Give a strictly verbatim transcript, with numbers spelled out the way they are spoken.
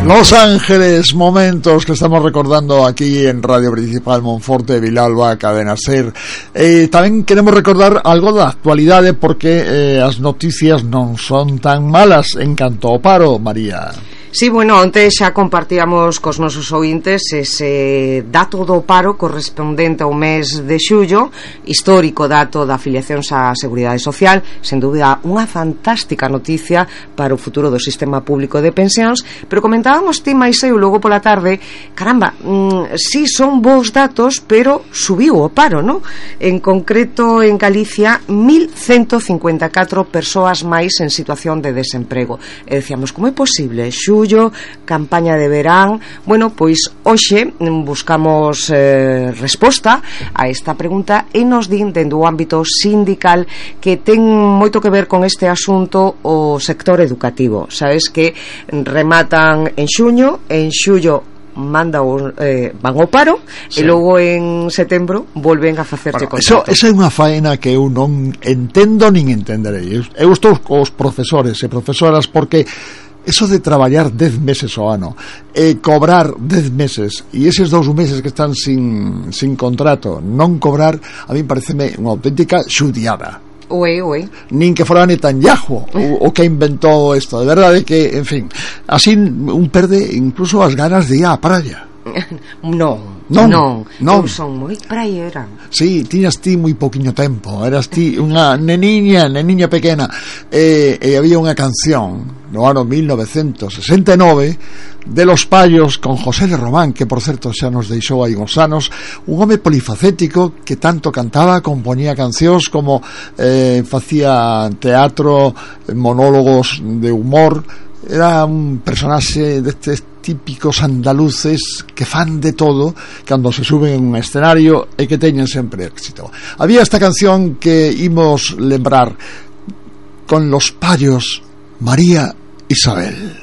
Los Ángeles, momentos que estamos recordando aquí en Radio Principal Monforte, Vilalba, Cadena Ser. Eh, tamén queremos recordar algo da actualidade porque eh, as noticias non son tan malas en canto ao paro, María. Sí, bueno, onte xa compartíamos cos nosos ouvintes ese dato do paro correspondente ao mes de xullo, histórico dato da afiliación á Seguridade Social, sen dúbida unha fantástica noticia para o futuro do sistema público de pensións, pero comentábamos ti máis eu logo pola tarde, caramba, mmm, sí son bons datos, pero subiu o paro, non? En concreto en Galicia, mil ciento cincuenta e catro persoas máis en situación de desemprego. E decíamos, como é posible? Xullo, campaña de verán. Bueno, pois hoxe buscamos eh, resposta a esta pregunta e nos din dentro do ámbito sindical que ten moito que ver con este asunto o sector educativo. Sabes que rematan en xuño, en xullo manda o, eh, van ao paro, sí. E logo en setembro volven a facerse bueno, contrato. Esa é unha faena que eu non entendo nin entenderei. Eu estou cos profesores e profesoras porque eso de traballar dez meses ao ano e cobrar dez meses e eses dous meses que están sin, sin contrato non cobrar, a mí pareceme unha auténtica xudiada. Oe, oe. Nin que fora Netanyahu o, o que inventou isto. De verdade que, en fin, así un perde incluso as ganas de ir á praia. Non, non, non, non. Eu son moi praiera. Sí, tiñas ti moi poquinho tempo. Eras ti unha neniña, neniña pequena. E, e había unha canción no ano mil novecentos sesenta e nove de Los Payos con José de Román, que por certo xa nos deixou hai uns anos, un home polifacético que tanto cantaba, componía cancións como eh, facía teatro, monólogos de humor. Era un personaxe destes típicos andaluces que fan de todo cando se suben en un escenario e que teñen sempre éxito. Había esta canción que imos lembrar con Los Payos, María Isabel.